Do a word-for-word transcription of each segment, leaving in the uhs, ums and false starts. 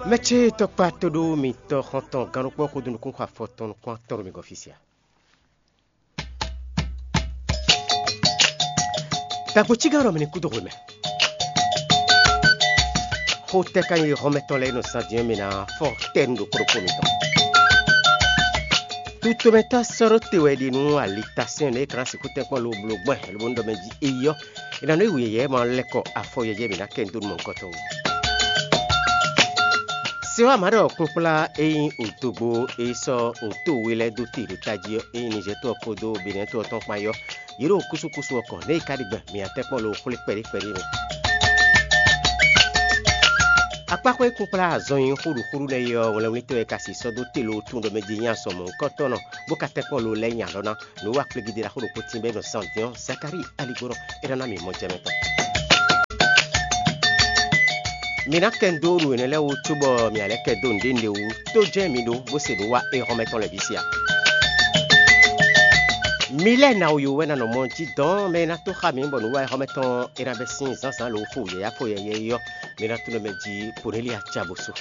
Mɛ ce tɔkpa to ɖó mitɔ xɔntɔn gannukpɔ́ xudunukún xɔ afɔtɔn nukún atɔn ɖo mi gɔ́ fí sia. Dagbo cígán ɖɔ mi ní kúdó hwemɛ. Xó tɛ́ ka nyí hɔnmɛ tɔn lɛ́ɛ nɔ zan din ɔ́, mi ná fɔ tɛ́ nú ɖokpó ɖokpó mitɔn. Tutomɛtɔ́ sɔ́ ɖó te wɛ ɖi nú alitasɛ́n nɛ́ é ka ná sixú tɛ́nkpɔ́n lobo bló gbɔn lobo nú ɖɔ mɛ jí é yɔ́. È nǎ nɔ yí wǔ yɛyɛ́ ma lɛ́ kɔ afɔ yɛyɛ́ mǐ ná kɛ nyi dó nú mɔ̌hunkɔtɔn wú. Se ɔ́, a mǎ ɖɔ kpɔ́nkplá e nyí odogbo e sɔ́ oto we lɛ́ɛ dó te ɖo tají ɔ́, e nyí Nizɛ́ɛ to ɔ́ kpódó Benɛ́ɛ to ɔ́ tɔn kpán é ɔ́, yě ɖo kúsúkúsú ɔ́ kɔn, nɛ́ è ka ɖi gbɔn mǐ ná tɛ́nkpɔ́n lo xwlé kpɛɖé kpɛɖé mɛ. Akpáxwé kpɔ́nkplá azɔn e nyí xúɖuxúɖu nɛ́ é ɔ́, wlɛnwlítɔ́ e ka si sɔ́ dó te lo tunwun ɖɔ mɛ din nyí azɔn mɔ̌hunkɔtɔn nɔ, bó ka tɛ́nkpɔ́n lo lɛ́ɛ nyi alɔ ná. Nǔ wa kplégídé ɖaxó ɖokpó tín bɔ é nɔ zan din ɔ́, Zakalíi aligbónɔ é ná ná mǐ mɔ jɛ mɛ tɔn. Mi ná kɛ nǔ dó nǔ énɛ́ lɛ́ɛ wú cóbɔ mi ná lɛ́ kɛ dó nǔɖé nǔɖé wú tó jɛ́n mi ɖó bó se nǔ wa éhɔ́mɛ tɔn lɛ́ɛ bǐ se a? Mi lɛ́ɛ ná wú wɛ ná nɔ mɔ jí dɔn mɛ e ná tó xá mi bɔ nǔ wa éhɔ́mɛ tɔn é ná bɛ́ sín zǎnzǎn lǒ fó yɛ̌yá fó yɛ̌yá é ɔ́, mi ná tunwun mɛ jí Ponélíya ca bó sú.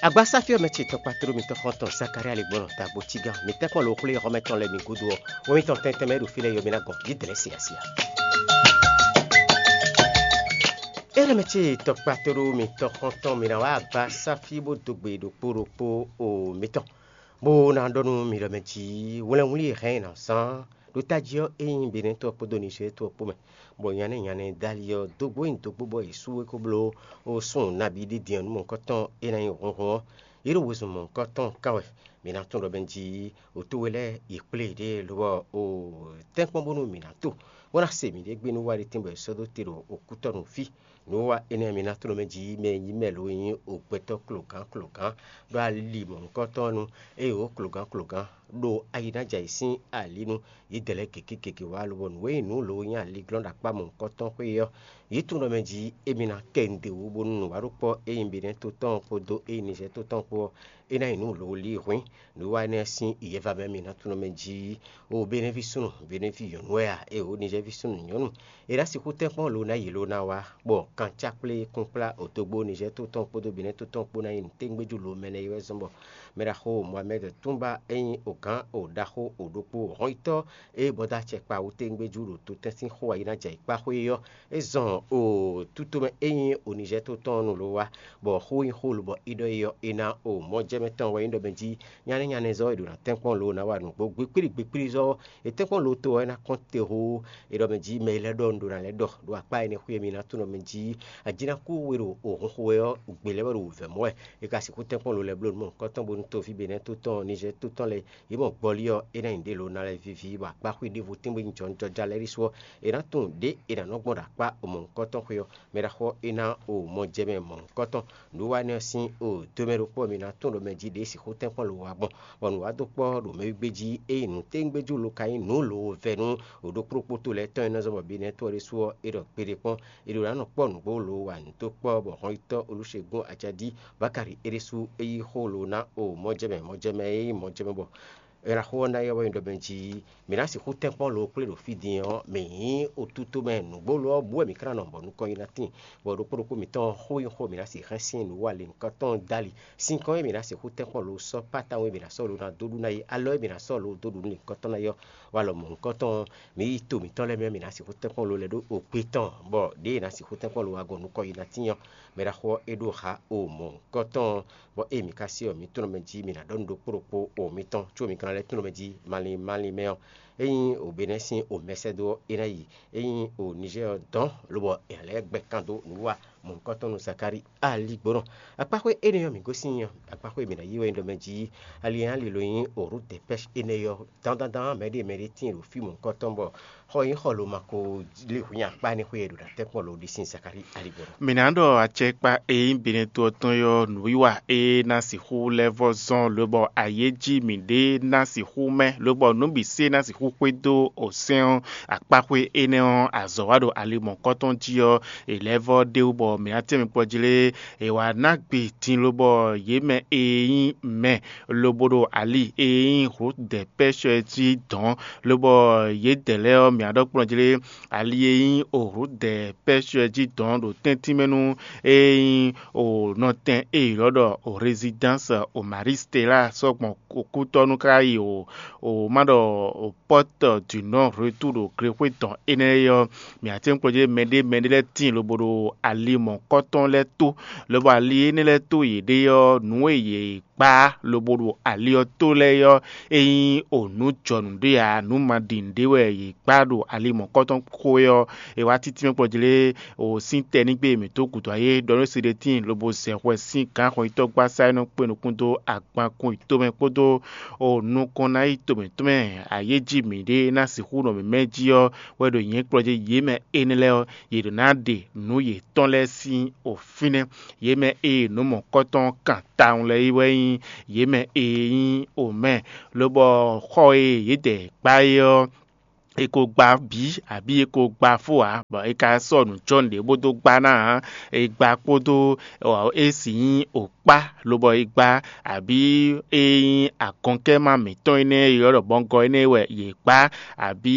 Agbasáfí ɔ́ mɛ ce tɔkpatro mitɔn xɔntɔn Zakalía lě gbɔn ta gbo cígán mi tɛ́nkpɔ́n lo xwlé xɔmɛ tɔn lɛ́ɛ mi gúdo ɔ́, wɛn mitɔn tɛntɛn mɛ ɖo fí lɛ́ɛ yɔ mi ná gɔn jǐdɛ̌lɛ́ siasia. Énɛ́ mɛ ce tɔkpatro mitɔn xɔntɔn mi ná wá agbasáfí bó dó gbe ɖokpó ɖokpó o mitɔn, bó ná ɖɔ nú mi ɖɔ mɛ jí wlɛnwlí e hɛn ná zán ɖo tají ɔ́, é nyí Benɛ́ to ɔ́ kpódó Nizɛ́ɛ to ɔ́ kpó mɛ, bɔ nyanɛ́ nyanɛ́ Dali ɔ́ dó gbó nyi dǒgbó bɔ yě sú é kó bló ó súnnu nabí ɖé din ɔ́ nú mɔ̌hunkɔtɔn tɔn é ná nyí hlɔ̌nhlɔ́n ɔ́. Yě ɖo wezun mɔ̌hunkɔtɔn kan wɛ. Mi ná tunwun ɖɔ mɛ jí wǒ towe lɛ́ɛ yi kplé yěɖée lobɔ o tɛ́nkpɔ́n bónú mǐ ná to, bó ná se mǐɖée gbe nú wá ɖé tɛ́nbɔ è sɔ́ dó te ɖo okútɔ́nu fí. Nǔwiwa énɛ́ mi ná tló mɛ jí mɛ e nyí mɛ lo e nyí ogbɛtɔ́ klogán klogán ɖó ali mɔ̌hunkɔtɔn nu, eye wǒ klogán klogán ɖo ayi ná jɛ ayǐ sín ali nu. Yědɛɛ lɛ́ɛ gěgé gěgé wá lobɔ nǔ e nyí nǔ lo nyí aliglɔ́n ɖo akpá mɔ̌hunkɔtɔn xwé ɔ́, yě tunwun ɖɔ mɛ jí émí ná kɛ nǔɖé wú bónú nǔwaɖokpɔ́ e nyí Benɛ́ to tɔn ɔ́ kpódó e nyí Nizɛ́ɛ to tɔn ɔ́ kpó ɔ́, é ná nyí nǔ lo lí hwǐn. Nǔwiwa énɛ́ sín yɛva mɛ mi ná tunwun ɖɔ mɛ jí o Benɛ́ ví súnnu, Benɛ́ ví nyɔ̌nu wɛ a, eye wǒ Nizɛ́ɛ ví súnnu nyɔ̌nu. È nǎ sixú tɛ́nkpɔ́n lo ná yi lo ná wá, bɔ kancákplé kúnkplá odógbó Nizɛ́ɛ tó tɔn kpódó Benɛ́ tó tɔn kpó ná nyí nǔtɛ́ngbéjú lo mɛ nɛ́ é wɛ zɔ́n bɔ mɛɖaxó Mohamɛ́d Túnba e nyí ogǎn o ɖaxó o ɖokpó hɔnyitɔ́ e bɔ́ dó acɛ kpa wú tɛ́ngbéjú ɖo totɛ́n sín xó ayi ná jɛ ayǐkpá xwé é ɔ́, é zɔn o tútomɛ e nyí o Nizɛ́ɛ tó tɔn ɔ́ nu lo wá, bɔ xó nyí xó lobɔ é ɖɔ é ɔ́, é ná o mɔjɛmɛ tɔn wɛ nyí ɖɔ mɛ jí nyánɛ́ nyánɛ́zɔ́ e ɖo ná tɛ́nkpɔ́n lo ná wa nǔgbó gbikplí gbikplízɔ́. È tɛ́nkpɔ́n lo to ɔ́ é ná kɔn te hoo. È ɖɔ mɛ jí mɛ e lɛ́ ɖɔ un ɖo ná lɛ́ ɖɔ ɖo akpá énɛ́ xwé e mi ná tunɔ mɛ jí ajínakú we ɖo òhun xo wɛ ɔ́, gbe lɛ́ wɛ ɖo wǔvɛ́ mɔ wɛ. È ka sixú tɛ́nkpɔ́n lo lɛ́ bló nǔ mɔ̌hunkɔtɔn bónú toví Benɛ́ tó tɔn Nizɛ́ɛ tó tɔn lɛ́ɛ yě mɔ gbɔlí ɔ́, é ná nyi ɖě lo ná lɛ́ víví, bɔ akpá xwé ɖěvo tɛ́nbó nyí jɔnjɔja lɛ́ɛ ɖésú ɔ́, è nǎ tunwun ɖě è nǎ nɔ gbɔn ɖo akpá mɔ̌hunkɔtɔn xwé ɔ́. Mɛ ɖaxó ɔ́ é ná o mɔjɛmɛ mɔ̌hunkɔtɔn. Nǔwanɛ́ ɔ́ sín o domɛ ɖokpó ɔ́, mi ná tunwun ɖɔ mɛ jí ɖě sixú tɛ́nkpɔ́n lo wá gbɔn, bɔ nǔ wá dó kpɔ́ ɖo mɛwígbé jí, ényí nǔtɛ́ngbéjú lo ka nyí nǔ lo vɛ́ nú ɖokpóɖokpó to lɛ́ɛ tɔn e nɔ zɔ́n bɔ Benɛ́ to ɔ́ ɖésú ɔ́, é ɖɔ kpeɖé kpɔ́n, è ɖo ná nɔ kpɔ́ nǔgbó lo wa nǔ dó kpɔ́, bɔ hɔnyitɔ́ Olúṣegún Ajaɖí Bákari é ɖésú é yí xó lo ná o mɔjɛmɛ mɔjɛmɛ e nyí mɔjɛmɛ bɔ Eraxó ɔ́ ná yɔ́ wɛ nyí ɖɔ mɛ jí mǐ ná sixú tɛ́nkpɔ́n lo kplé ɖo fí din ɔ́, mǐ nyí otútó mɛ nǔgbó lo ɔ́ bú wɛ mǐ ka ná nɔ bɔ nukɔn yi ná tíin, bɔ ɖokpó ɖokpó mǐtɔn xó nyí xó e mǐ ná sixú hɛn sín nǔ wa lěhunkɔtɔn dali. Sinkɔn e mǐ ná sixú tɛ́nkpɔ́n lo sɔ́ pátáwun e mǐ ná sɔ́ lo ná dó ɖu ná yi, alɔ e mǐ ná sɔ́ lo dó ɖu nú lěhunkɔtɔn ná yɔ́ wa lɔ mɔ̌hunkɔtɔn ɔ́, mǐ yi to mǐtɔn lɛ́ɛ mɛ ɔ́, mǐ ná sixú tɛ́nkpɔ́n lo lɛ́ ɖó okpé tɔn, bɔ ɖěe è nǎ sixú tɛ́nkpɔ́n lo wa gbɔn nukɔn yi ná tíin ɔ́, mɛ ɖaxó ɔ́ é ɖó xa o mɔ̌hunkɔtɔn ɔ́. Bɔ ée mǐ ka se ɔ́, mǐ tunɔ mɛ jí mǐ ná ɖɔ nú ɖokpó ɖokpó o mitɔn, có mi ka ná lɛ́ tunɔ mɛ jí malín malín mɛ ɔ́, ényí o Benɛ́ sín o mɛsɛ́dó ɔ́, é ná yi, ényí o Nizɛ́ɛ ɔ́ dɔn, lobɔ è nǎ lɛ́ gbɛ kan dó nǔwiwa mɔ̌hunkɔtɔn nú Zakalíi aligbónɔ. Akpáxwé énɛ́ ɔ́, mǐ gosín ɔ́, akpáxwé e mǐ ná yí wɛ nyí ɖɔ mɛ jí ali e ná lilo nyí o Rudɛpɛ́si énɛ́ ɔ́, dandandan mɛɖé mɛɖé tíin ɖo fí mɔ̌hunkɔtɔn bɔ xɔ e nyí xɔ lo ma ko lé hwǐn akpá énɛ́ xwé e ɖo ná tɛ́nkpɔ́n lo ɖi sín Zakalíi aligbónɔ. Mǐ ná ɖɔ acɛkpa e nyí Benɛ́ to ɔ́ tɔn é ɔ́, nǔwiwa e ná sixú lɛ́ vɔ́ zɔ́n lobɔ ayéjí mǐɖée ná sixú mɛ, lobɔ nǔ bǐ se ná sixú xwedó osɛ́n ɔ́, akpáxwé énɛ́ ɔ́, azɔ̌ wa ɖo ali mɔ̌kɔ́tɔn jí ɔ́, è lɛ́ vɔ́ ɖ'é wú bɔ mǐ ná tɛ́nmɛ kpɔ́ jí lé, è wǎ ná gbe din lobɔ yě mɛ e nyí mɛ lobo ɖo ali e nyí Rudɛpɛ́shɔ jí dɔ̌n, lobɔ yědɛɛ lɛ́ɛ ɔ́, mǐ ná ɖɔ kplɔ́n jí lé, ali e nyí Rudɛpɛ́shɔ jí dɔ̌n ɖo tɛ́ntin mɛ nú e nyí nɔtɛn e è ylɔ́ ɖɔ Résidence Marie Stella sɔ́ gbɔn kútɔ́ nú ká yi o, o má ɖɔ o Porte du Non Retour ɖo glexwé tɔn énɛ́ é ɔ́, mǐ ǎ tɛ́nkpɔ́n jí mɛɖé mɛɖé lɛ́ɛ tíin lobo ɖo ali mɔ̌kɔ́tɔn lɛ́ɛ tó, lobɔ ali énɛ́ lɛ́ɛ tó yěɖée ɔ́, nǔ e yě gbá lobo ɖo ali ɔ́ tó lɛ́ɛ é ɔ́, é nyí o nǔ jɔ nǔɖé ǎ, nǔ ma ɖi nǔɖé wɛ yě gbá ɖo ali mɔ̌kɔ́tɔn xó é ɔ́, è wá títí mɛ kplɔ́ jí lé o sín tɛnígbe mǐtɔn gǔdo ayé ɖɔ nú Siɖetíin lobo zɛ hwɛ sín gǎn xɔnyitɔ́gbasá e nɔ kpé nukún dó agbankun yětɔn mɛ kpódó o nukɔn ná yi to mǐtɔn mɛ ayéjí mǐɖée ná sixú nɔ mǐmɛ́ jí ɔ́ wɛ ɖo nyɛ̌kplɔ́ jí yě mɛ énɛ́ lɛ́ɛ ɔ́, yě ɖǒ ná ɖe nǔ yětɔn lɛ́ɛ sín o fínɛ́. Yě mɛ e nǔ mɔ̌kɔ́tɔn kan tawun lɛ́ɛ é wɛ nyí yě mɛ e nyí omɛ, lobɔ xɔ e yědɛɛ gbá é ɔ́, è ko gba bǐ abǐ è ko gba fó ǎ, bɔ è ka sɔ́ nǔ jɔ́ nǔɖé bó dó gbá ná ǎ. È gba kpódó é sì nyí òkpá, lobɔ è gba, abǐ é nyí agɔnkɛ́ma mǐtɔn énɛ́ e ylɔ́ ɖɔ bɔngɔ énɛ́ wɛ yě gbá, abǐ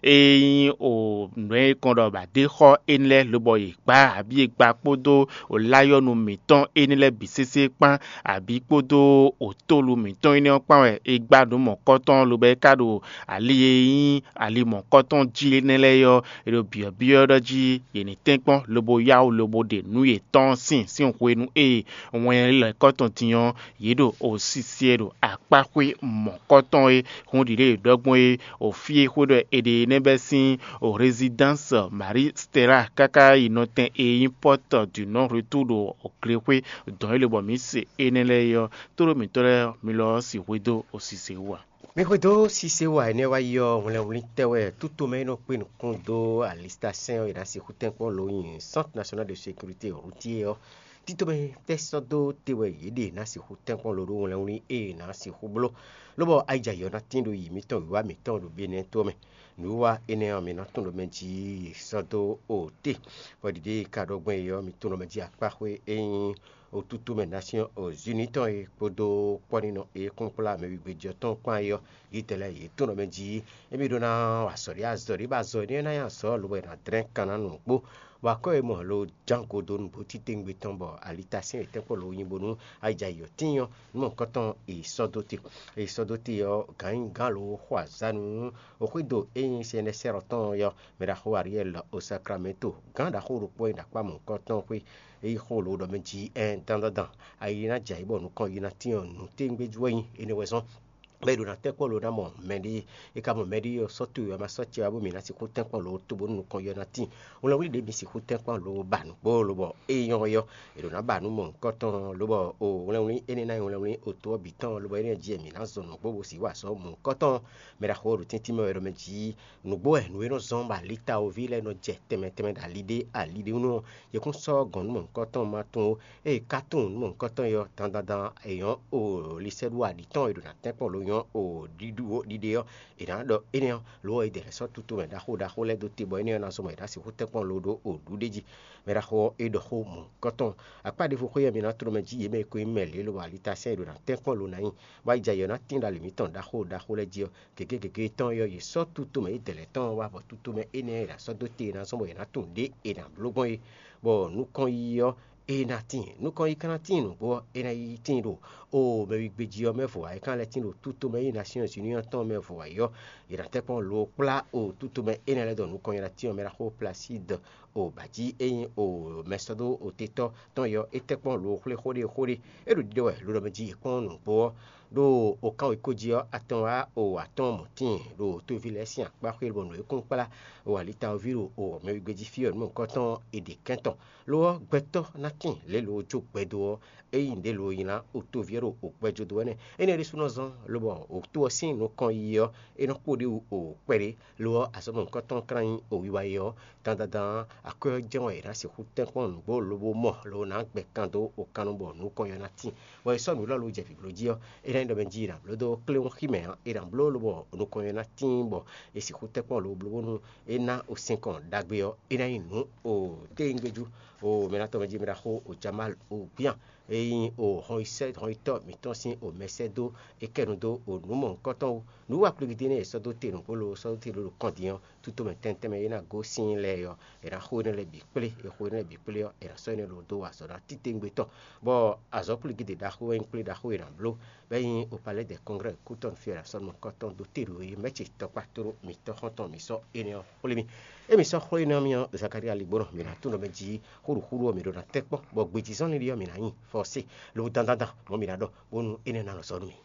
é nyí o nǔ e kɔn ɖɔ bǎ ɖé xɔ énɛ́ lɛ́ɛ lobɔ yě gbá, abǐ è gba kpódó o láyɔ́nu mǐtɔn énɛ́ lɛ́ɛ bǐ sésé kpán, abǐ kpódó o tólu mǐtɔn énɛ́ ɔ́ kpán wɛ è gbá nǔ mɔ̌kɔ́tɔn lobɔ é ka ɖo ali e nyí ali mɔ̌kɔ́tɔn jí énɛ́ lɛ́ɛ ɔ́, è ɖo byɔ̌byɔ́ ɖɔ jí yě ní tɛ́nkpɔ́n lobo yá wǔ lobo ɖe nǔ yětɔn sín sín hwenu e wɛn lɛ́kɔ́ tɔn din ɔ́, yě ɖo osisi e ɖo akpáxwé mɔ̌kɔ́tɔn e hun ɖiɖe e ɖɔ gbɔn é, o fí e xwé ɖɔ è ɖe énɛ́ bɛ́ sín o Résidence Marie Stella káká yi nɔtɛn e nyí Porte du Non Retour ɖo glexwé dɔn é lobɔ mǐ se énɛ́ lɛ́ɛ é ɔ́, tóɖó mǐtɔn lɛ́ɛ mi lɔ ɔ́ sixwé dó osise wú ǎ. Mi xwedó sise wa énɛ́ wá yi ɔ́, hwlɛnwlín tɛ́ wɛ tútomɛ e nɔ kpé nukún dó alistasɛn ɔ́, è nǎ sixú tɛ́nkpɔ́n lo nyi Centre National de Sécurité Routière ɔ́. Títomɛ tɛ́ sɔ́ dó te wɛ yě ɖe ná sixú tɛ́nkpɔ́n lo ɖó hwlɛnwlín e è nǎ sixú bló, lobɔ ayijayɔ ná tín ɖo yi mǐtɔn wǐwá mǐtɔn ɖo Benɛ́ to ɔ́ mɛ. Nǔwiwa énɛ́ ɔ́, mi ná tunwun ɖɔ mɛ jí sɔ́ dó o te, bɔ ɖiɖe e ka ɖɔ gbɔn é ɔ́, mi tunwun ɖɔ mɛ jí akpáxwé e nyí otútú mɛ Nasyɔ́n Zinú tɔn e kpódó kpɔ́nínɔ e kún kplá mɛ wígbéjɔ tɔn kpán é ɔ́, yětɛn lɛ́ɛ yě tunwun ɖɔ mɛ jí émí ɖó ná wa azɔ̌ ɖé azɔ̌ ɖé ba azɔ̌ énɛ́ ná nyí azɔ̌ lobo è nǎ dlɛ́n kan ná nǔ kpó. Bɔ akɔ́ e mɔ lo ján go dó nǔgbó titewungbe tɔn bɔ alitasɛ́n yětɛn kpó lo nyi bónú ayijayɔ tíin ɔ́, nú mɔ̌hunkɔtɔn è sɔ́ dó te. È sɔ́ dó te ɔ́, gǎnyigán lo xo azǎn nú xwédo e nyí sɛnɛsɛ́rɔ tɔn ɔ́ yɔ́, mɛ ɖaxó Ariɛ́li o Saklamɛ́to, gǎn ɖaxó ɖokpó e ɖo akpá mɔ̌hunkɔtɔn xwé, é yi xó lo ɖɔ mɛ jí ɛn dandandan, ayi ná jɛ ayǐ bɔ nukɔn yi ná tín ɔ́, nǔtɛ́ngbéjú wɛ nyí énɛ́ wɛ zɔ́n. Bɔ è ɖo ná tɛ́nkpɔ́n lo ná mɔ mɛɖée, é ka mɔ mɛɖée ɔ́, sɔ́ towe ɔ́ ma sɔ́ ce wá bó mǐ ná sixú tɛ́nkpɔ́n lo tó bónú nukɔn yi ɔ́ ná tíin. Wlɛnwlí ɖě mi sixú tɛ́nkpɔ́n lo ba nǔgbó lobɔ é nyɔ́ ɔ́, è ɖǒ ná ba nǔ mɔ̌hunkɔtɔn, lobɔ o wlɛnwlí énɛ́ ná nyí wlɛnwlí oto ɔ́ bǐ tɔn, lobɔ énɛ́ jí wɛ mǐ ná zɔn nǔgbó bó sì wá azɔ̌ mɔ̌hunkɔtɔn. Mɛ ɖaxó ɔ́ ɖo tɛ́ntin mɛ wɛ ɖɔ mɛ jí nǔgbó wɛ nǔ e nɔ zɔ́n bɔ alitawoví lɛ́ɛ nɔ jɛ tɛnmɛ tɛnmɛ ɖo ali ɖé ali ɖé wú ɔ́, yě kún sɔ́ gɔ̌n nú mɔ̌hunkɔtɔn ma tunwun ó. Ée ka tunwun nú mɔ̌hunkɔtɔn ɔ́, dandandan è nyɔ́ o lisɛ́ɖuaɖi tɔn e ɖo ná tɛ́nkpɔ́n lo nyɔ́ o ɖiɖu ɖiɖe ɔ́, è nǎ ɖɔ énɛ́ ɔ́, lo ɔ́, è dɛ lɛ́ sɔ́ tutomɛ ɖaxó ɖaxó lɛ́ɛ dó te bɔ énɛ́ ɔ́ ná zɔ́n bɔ è nǎ sixú tɛ́nkpɔ́n lo ɖó o ɖuɖéjí. Mɛ ɖaxó ɔ́, é ɖɔ xó mɔ̌hunkɔtɔn. Akpá ɖěvo xwé ɔ́, mi ná tló mɛ jí yě mɛ e ko nyí mɛ lě lobo alitasɛ́n e ɖo ná tɛ́nkpɔ́n lo ná nyi, bɔ ayijayɔ ná tín ɖo ali mǐtɔn ɖaxó ɖaxó lɛ́ɛ jí ɔ́, gěgé gěgé tɔn é ɔ́, yě sɔ́ tutomɛ é dɛ lɛ́ɛ tɔn ɔ́ wá, bɔ tutomɛ énɛ́ e è nǎ sɔ́ dó te è nǎ zɔ́n bɔ è nǎ tunwun ɖě è nǎ bló gbɔn é. Bɔ nukɔn yi ɔ́, é ná tíin. Nukɔn yi ka ná tíin nǔgbó ɔ́, é ná yi tíin ɖo o mɛ wígbéjí ɔ́ mɛ vo ǎ. É ka ná lɛ́ tíin ɖo tutomɛ e nyí Nasyɔ́n Zinú ɔ́ tɔn mɛ vo ǎ é ɔ́, è nǎ tɛ́nkpɔ́n lo kplá o tutomɛ énɛ́ lɛ́ɛ ɖɔ nukɔn nyi ná tíin ɔ́, mɛ ɖaxó Plasídɔ o bǎjí e nyí o mɛsɔ́dó otetɔ́ tɔn é ɔ́, é tɛ́nkpɔ́n lo xwlé xó ɖé xó ɖé. É ɖo ɖiɖɔ wɛ lo ɖɔ mɛ jí è kpɔ́n nǔgbó ɔ́, ɖo okánwekó jí ɔ́, atɔn wá o atɔ́ɔ́n mɔ̌ tíin ɖo tóví lɛ́ɛ sín akpá xwé bɔ nǔ e kún kplá o alitawoví ɖo o mɛ wígbéjí fí ɔ́ nú mɔ̌hunkɔtɔn ɔ́, è ɖe kɛ́n tɔn. Lo ɔ́, gbɛtɔ́ ná tíin lě lo jó gbɛdo ɔ́, é nyí nǔɖé lo nylá o tóví ɔ́ ɖo o gbɛjodó wɛ nɛ́. Énɛ́ ɖésú nɔ zɔ́n lobɔ o tó ɔ́ sín nukɔn yiyi ɔ́, é nɔ kpo ɖ'é wú o kpɛɖé. Lo ɔ́, azɔ̌ mɔ̌hunkɔtɔn ɔ́ ka ná nyí o wiwa e ɔ́, dandandan akwɛ́ ɔ́ jɛ́n wɛ è nǎ sixú tɛ́nkpɔ́n nǔgbó lobo mɔ lo ná gbɛ kan dó o kan nu bɔ nukɔn ɔ́ ná tíin. Bɔ è sɔ́ nǔ élɔ́ lo jɛ vǐbló jí ɔ́, é ná ɖɔ mɛ jí è nǎ bló dó kléwún xí mɛ ǎ, è nǎ bló lobɔ nukɔn e ná tíin bɔ è sixú tɛ́ kpɔ́n lobo bló bónú é ná o sinkɔn ɖagbe ɔ́, é ná nyí nǔ o téyíngbejú o mɛ ná tɔn mɛ jí mɛ ɖaxó o Jamal o gbían e nyí o hɔnyisɛ hɔnyitɔ́ mǐtɔn sín o mɛsɛ́dó é kɛ nu dó o nǔ mɔ̌hunkɔtɔn wú. Nǔ wa kplígídí nɛ́ è sɔ́ dó te nǔgbó lo sɔ́ dó te ɖó kɔn din ɔ́, tutomɛ tɛntɛnmɛ e ná gosín lɛ́ɛ ɔ́, è nǎ xo énɛ́ lɛ́ɛ bǐ kplé. È xo énɛ́ lɛ́ɛ bǐ kplé ɔ́, è nǎ sɔ́ énɛ́ lɔ dó wa azɔ̌ ná titewungbe tɔn, bɔ azɔ̌ kplígídí ɖaxó wɛ nyí kplé ɖaxó e è nǎ bló, bɔ é nyí o Palais des Congrès kútɔ́ fí è nǎ sɔ́ nukɔntɔn dó te ɖo e mɛ̌ ce tɔkpá tlóló mǐtɔn xɔ́ntɔn mǐ sɔ́ énɛ́ ɔ́ xwlé mì. Émí sɔ́ xwlé énɛ́ ɔ́ mì ɔ́, Zakalía Ligbónɔ mǐ ná tunwun ɖɔ mɛ jí xóɖuxóɖu ɔ́ mǐ ɖó ná tɛ́ kpɔ́n, bɔ gbejizɔ́n lili ɔ́ mǐ ná nyi fɔ́sé, lo dandandan mɔ̌ mǐ ná ɖɔ, bónú énɛ́ ná nɔ sɔ́ nú mì.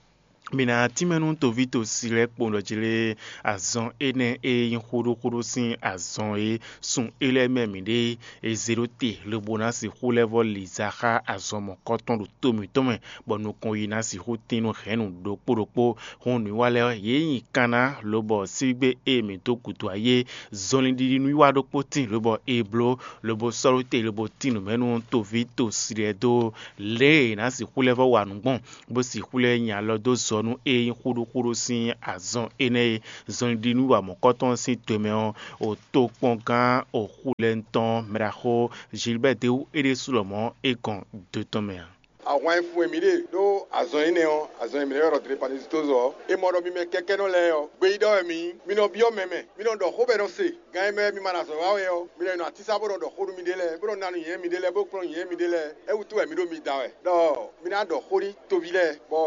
Mi ná tínmɛ nú toví tosí lɛ́ɛ kpowun ɖɔ jí lé azɔn énɛ́ e nyí xóɖóxóɖó sín azɔn e sun é lɛ́ɛ mɛ mǐ ɖe e zé ɖó te lobo ná sixú lɛ́ vɔ́ li za xá azɔn mɔ̌kɔtɔn ɖo to mǐtɔn mɛ, bɔ nukɔn yi ná sixú tín nú hɛ̌nnu ɖokpó ɖokpó. Hǔn nǔwiwa lɛ́ɛ ɔ́, yě nyi kanná lobɔ sígbé e mǐ dó gǔdo ayé zɔnlin ɖiɖi nǔwiwa ɖokpó tíin lobɔ è bló lobo sɔ́ ɖó te lobo tín nǔ mɛ nú toví tosí lɛ́ɛ dó lě e è nǎ sixú lɛ́ vɔ́ wa nǔ gbɔn, bó sixú lɛ́ nyi alɔ dó zɔ nú é nyí xúɖúxúɖú sín azɔn énɛ́ e zɔnlin ɖi nú wa mɔ̌kɔtɔn sín to mɛ ɔ́, o tokpɔngán o xulɛ́ntɔn mɛɖaxó Gilbert Dewu é ɖésú lɔmɔ̌ é gɔn do tɔn mɛ ǎ. Ahwan e fun e mǐ ɖe ɖó azɔn énɛ́ ɔ́, azɔn e mǐ nɔ́ ylɔ́ ɖɔ Dlepanisitozɔ ɔ́, è mɔ ɖɔ mi mɛ kɛkɛ́nɔ lɛ́ɛ ɔ́, gbeyíɖɔ wɛ mǐ nyí. Mi nɔ byɔ́ mɛ mɛ, mi nɔ ɖɔ xó bɔ è nɔ se. Gan e mɛ mi ma ɖo azɔ̌ wa wɛ ɔ́, mi nɔ nɔ atísá bó nɔ ɖɔ xó nú miɖée lɛ́ɛ, bó nɔ ná nǔnywɛ́ miɖée lɛ́ɛ, bó kplɔ́n nǔnywɛ́ miɖée lɛ́ɛ. É wútu wɛ mǐ ɖo mi da wɛ ɖɔ mi ná ɖɔ xó nú toví lɛ́ɛ, bɔ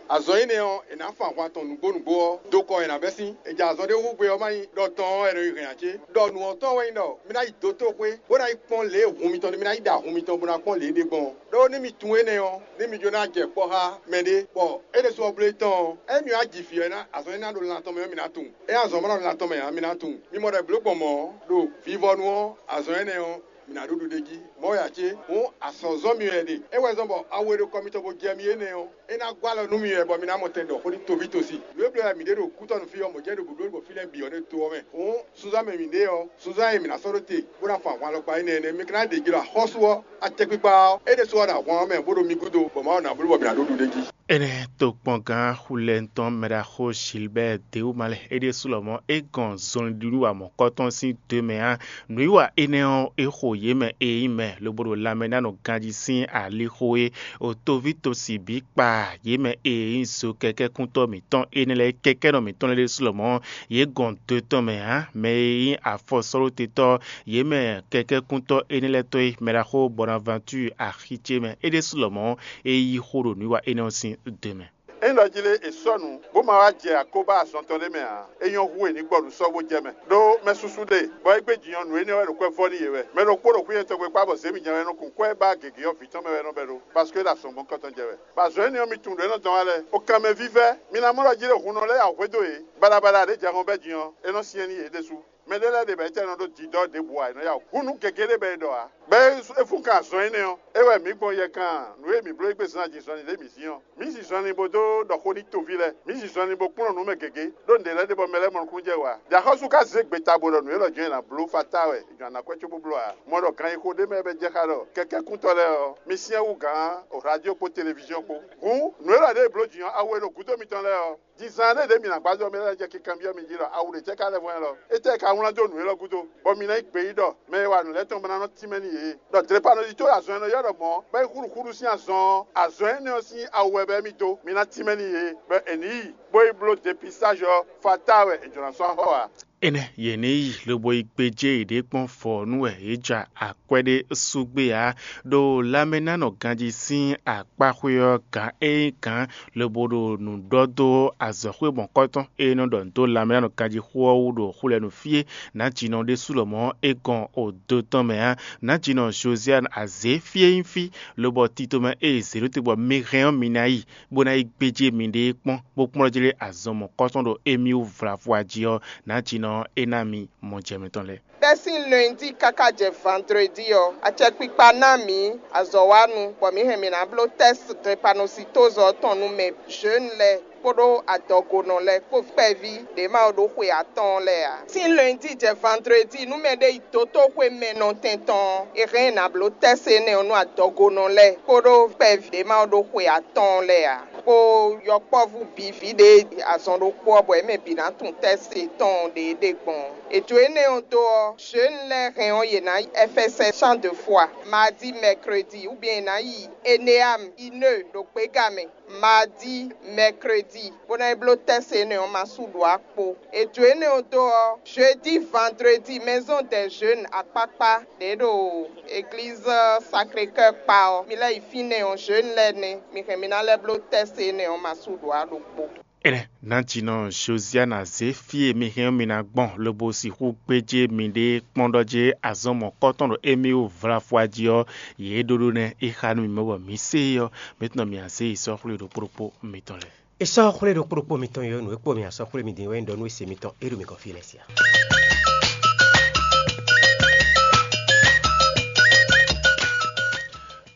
azɔn énɛ́ ɔ́, è nǎ fun ahwan tɔn nǔgbó nǔgbó ɔ́ dó kɔ è nǎ bɛ́ sín. È jɛ azɔn ɖé hú gbe ɔ́ má nyí ɖɔ tɔn ɔ́ wɛ è nɔ yi hɛn ǎ cé? Ɖɔ nǔ ɔ́ tɔn wɛ nyí ɖɔ mi ná yi dotóxwé, bó ná yi kpɔ́n lě e hun mitɔn ɖe, mi ná yi ɖa hun mitɔn bó ná kpɔ́n lě e ɖe gbɔn ɔ́. Ɖó ní mi tunwun énɛ́ ɔ́, ní mi jló ná jɛ kpɔ́ xá mɛɖé, bɔ é ɖésú ɔ́ bló é tɔn ɔ́, ényí mi wá ji vǐ ɔ́ ná, azɔn énɛ́ ná ɖo lan tɔn mɛ ɔ́, mi ná tunwun. Ényí azɔn ma ɖo lan tɔn mɛ ǎ, mi ná tunwun. Mi mɔ ɖɔ è blǒ gbɔn mɔ̌ ɔ́, ɖo vivɔnu ɔ́, azɔn énɛ́ ɔ́, mi ná ɖu ɖuɖéjí. Mɔ̌ wɛ ǎ cé? Hǔn azɔ̌zɔ́ mi wɛ è ɖe. É wɛ zɔ́n bɔ awu e ɖo kɔ mitɔn bó jɛ mi énɛ́ ɔ́, é ná gɔ́ alɔ nú mi wɛ bɔ mi ná mɔ tɛn ɖɔ xó nú toví tosi. Nǔ e bló wɛ mǐ ɖe ɖo kútɔ́nu fí ɔ́, mɔ̌ jɛ́n ɖo gǔdo bɔ fí lɛ́ɛ bǐ ɔ́ ɖo to ɔ́ mɛ. Hǔn sunzán mɛ mǐ ɖe ɔ́, sunzán e mǐ ná sɔ́ ɖó te, bó ná fun ahwan alɔkpa énɛ́ nɛ́. Mi ka ná ɖe jí ɖɔ axɔ́sú ɔ́, acɛkpikpa ɔ́, é ɖésú wá ɖo ahwan ɔ́ mɛ bó ɖo mi gúdo, bɔ Mawu ná bló bɔ mǐ ná ɖó ɖuɖéjí. Énɛ́ tokpɔngán xulɛntɔn mɛɖaxó Gilbert Dewu ma lɛ́ɛ é ɖésú lɔmɔ̌ é gɔn zɔnlin ɖi nú wa mɔ̌kɔtɔn sín do mɛ ǎ. Nǔwiwa énɛ́ ɔ́, é xo yě mɛ e nyí mɛ lobo ɖo lanmɛ ná nɔ ganjí sín alixo é. O toví tosi bǐ kpa yě mɛ e nyí zo kɛkɛ́kúntɔ́ mǐtɔn énɛ́ lɛ́ɛ, kɛkɛ́nɔ mǐtɔn lɛ́ɛ ɖésú lɔmɔ̌, yě gɔn do tɔn mɛ ǎ. Mɛ e nyí afɔsɔ́ɖótetɔ́ yě mɛ kɛkɛ́kúntɔ́ énɛ́ lɛ́ɛ tɔ́ é, mɛɖaxó Bonaventure axi ce mɛ é ɖésú lɔmɔ̌, é yí xó ɖo nǔwiwa énɛ́ ɔ́ sín do mɛ. Ényí ɖɔ jí lé è sɔ́ nǔ, bó ma wá jɛ akóbá azɔn tɔn ɖé mɛ ǎ, é nyɔ́ hú è ní gbɔ nǔ sɔ́ bó jɛ mɛ. Ɖó mɛ susu ɖe, bɔ é gbé jǐ ɔ́, nǔ énɛ́ wɛ ɖo kwɛ́ vɔ́ n'i yě wɛ. Mɛ ɖokpó ɖo xwínyɛ tɔn gbe kpá bɔ zě mì jɛ́n wɛ nɔ kun kwɛ́ ba gěgé ɔ́ vǐ tɔn mɛ wɛ nɔ bɛ ɖó, paske é ɖo azɔn gbɔn kɔn tɔn jɛ wɛ. Bɔ azɔn énɛ́ ɔ́, mi tunwun ɖě nɔ dɔn wá lɛ́ɛ. O kanmɛ vívɛ́, mi ná mɔ ɖɔ jí ɖo hun nɔ lɛ́ɛ ya hwedó yě, baɖabaɖa ɖě jɛ hɔn bɛ́ din ɔ́, é nɔ syɛ́n n'i yě ɖésú. Mɛ ɖé lɛ́ɛ ɖe bɔ é tɛ́ nɔ ɖó didɔ́ ɖěbǔ ǎ, é nɔ ya wǔ. Hǔn nǔ gěgé ɖé bɔ è ɖɔ ǎ. Bɔ é fún kan azɔn énɛ́ ɔ́, é wɛ mǐ gbɔn yɛ kan nǔ e mǐ bló é gbe zán jí zɔnlin ɖě mǐ zín ɔ́. Mǐ zi zɔnlin bó dó ɖɔ xó n'i toví lɛ́ɛ. Mǐ zi zɔnlin bó kplɔ́n nǔ mɛ gěgé, ɖó nǔɖé lɛ́ɛ ɖe bɔ mɛ lɛ́ɛ mɔ nukúnnú jɛ wǎ. Ɖě axɔ́sú ka zé gbeta bó ɖɔ nǔ élɔ́ jɔ́n è nǎ bló fatá wɛ è jɔ̌ ná kwɛ́ cóbó bló ǎ. Mɔ ɖɔ gan yi xo ɖé mɛ wɛ bɛ jɛ xá ɖɔ kɛkɛ́kúntɔ́ lɛ́ɛ ɔ́, mi syɛ́n wú gǎn o radio kpó televiziɔn kpó. Hǔn nǔ élɔ́ ɖě e blǒ jǐ ɔ́, awu e ɖo gǔdo mitɔn lɛ́ɛ ɔ́, Dizan ɖé ɖě mǐ ná gbájɔ mɛ lɛ́ɛ jɛ kinkanbyɔ́ mi jí ɖɔ awu ɖě cɛ́ ka lɛ́ vɔ́n ɛlɔ? Étɛ́ ka wlán dó nǔ élɔ́ gúdo, bɔ mi ná yí gbeyíɖɔ mɛ e wa nǔ lɛ́ɛ tɔn bó ná nɔ tínmɛ n'i yě? Ɖɔ dlěpanɔjí tó azɔn e nɔ ylɔ́ ɖɔ mɔ̌, bɔ é xúɖuxúɖu sín azɔn ɔ́, azɔn énɛ́ ɔ́ sín awu wɛ bɔ émí dó, mi ná tínmɛ n'i yě, bɔ è nǐ yi, bó yi bló depistázi ɔ́, fatáa wɛ è jlǒ ná sɔ́ axɔ ǎ. Énɛ́ yě ní yi lobo yi gbéjé yěɖée kpɔ́n vɔ̌ nú wɛ yě ja akwɛ́ ɖé sú gbé ǎ. Ɖo lanmɛnánɔ ganjí sín akpáxwé ɔ́, gǎn e nyí gǎn lobo ɖo nǔ ɖɔ dó azɔ̌xwé mɔ̌kɔtɔn e nɔ ɖɔ nǔ dó lanmɛnánɔ ganjí xó ɔ́ wú ɖo xwlɛnu fí é, nǎjínɔ ɖésú lɔmɔ̌ é gɔn odo tɔn mɛ ǎ. Nǎjínɔ Josiane azě fí e nyí fí, lobɔ tito mɛ e è zě ɖó te bɔ mi hɛn ɔ́ mi ná yi, bó ná yi gbéjé miɖée kpɔ́n, bó kplɔ́n jlé azɔn mɔ̌kɔtɔn ɖo émí wú vlafɔ jí ɔ́, nǎjínɔ é ná mi mɔjɛmɛ tɔn lɛ́ɛ. Bɛ́ sín lundi káká jɛ vandredi ɔ́, acɛkpikpa ná mǐ azɔ̌wanu, bɔ mǐ hɛn mǐ ná bló tɛ́st drepanocytose ɔ́ tɔn nú mɛ zhǒnu lɛ́ɛ kpódó adɔgonɔ lɛ́ɛ kpó kpɛví ɖě ma ɖó xwe atɔ́ɔ́n lɛ́ɛ ǎ. Sín lundi jɛ vandredi nú mɛɖé yi dotóxwé mɛ nɔtɛn tɔn ɔ́, è hɛn ɛ ná bló tɛ́st énɛ́ ɔ́ nú adɔgonɔ lɛ́ɛ kpódó kpɛví ɖě ma ɖó xwe atɔ́ɔ́n lɛ́ɛ ǎ. kpó yɔkpɔ́vú bǐ vǐ ɖě azɔn ɖokpó ɔ́, bɔ yě mɛ bǐ ná tunwun tɛ́sí tɔn ɖě ɖe gbɔn. È jó énɛ́ ɔ́ dó ɔ́, Jeune lɛ́ɛ hɛn ɔ́, yě ná yi F S S champ de foi, mardi, mercredi, ou bien yě ná yi Eneam, Ineu, ɖo gběga mɛ, mardi, mercredi, bó ná yi bló tɛ́sí énɛ́ ɔ́ ma sú ɖó akpo. È jó énɛ́ ɔ́ dó ɔ́, jeudi, vendredi, maison des jeunes akpákpá ɖě ɖo église Sacré-Cœur kpa ɔ́, mi lɛ́ yi fínɛ́ ɔ́, jeune lɛ́ɛ nɛ́, mi hɛn mi ná lɛ́ bló tɛ́sí énɛ́ ɔ́ ma sú ɖó a ɖokpó. Énɛ́, nǎjínɔ Josiana zé fí e mi hɛn ɔ́ mi ná gbɔn, lobo sixú gbéjé miɖée kpɔ́n ɖɔ jɛ azɔn mɔ̌kɔtɔn ɖo émí wú vlafwa jí ɔ́, yě ɖó ɖó nɛ́ é xá nú mi mɛ bɔ mi sé e ɔ́, mi tunɔ mi azé yi sɔ́ xwlé ɖokpó ɖokpó mitɔn lɛ́ɛ. È sɔ́ xwlé ɖokpó ɖokpó mitɔn e ɔ́, nǔ e kpo mi asɔ́ xwlé mi din wɛ nyí ɖɔ nú e se mitɔn é ɖo mi gɔ́n fí lɛ́ɛ sia.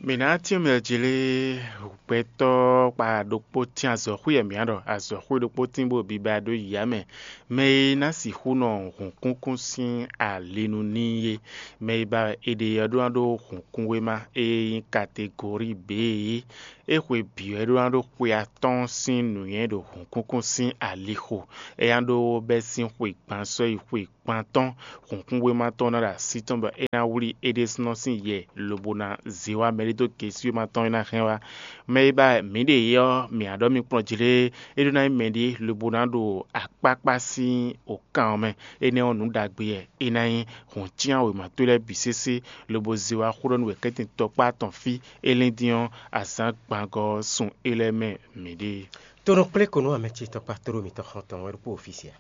Mǐ ná cyɔ́n mì jlé gbɛtɔ́ kpa ɖokpó tín azɔ̌xwé e mǐ ɖɔ azɔ̌xwé ɖokpó tín bó biba ɖó yǐyá mɛ. Mɛ e ná sixú nɔ hǔnkúnkún sín ali nu n'i é. Mɛ e ba è ɖe ɔ́ ɖó ná ɖó hǔnkúnwéma e nyí kategori B é. É xwe bǐ wɛ é ɖó ná ɖó xwe atɔ́ɔ́n sín nǔnywɛ́ ɖo hǔnkúnkún sín alixo. É ná ɖó bɛ́ sín xwe gban sɔ́ yi xwe gban tɔn. Hǔnkúnwéma tɔn ná ɖo así tɔn bɔ é ná wlí é ɖésúnɔ sín yɛ lobo ná zé wá mɛɖé dó gesúwéma tɔn e ná hɛn wá. Mɛ e ba mǐ ɖe é ɔ́, mǐ ná ɖɔ mi kplɔ́n jlé, é ɖó ná nyí mɛɖé lobo ná ɖo akpákpá sín òkan ɔ́ mɛ. Énɛ́ ɔ́, nǔ ɖagbe wɛ é ná nyí. Hǔn cyán wěma towe lɛ́ɛ bǐ sésé, lobo zé wá xó ɖɔ nú wɛ̌kɛ́tɛn tɔkpá tɔn fí. É lɛ́n dín ɔ́, azǎn gbangɔ ɔ́ sun é lɛ́ɛ mɛ mǐɖée. Tonɔ kplé ko nú amɛ ce tɔkpá tlóló mitɔn xɔn tɔn wɛ ɖokpó ofisia.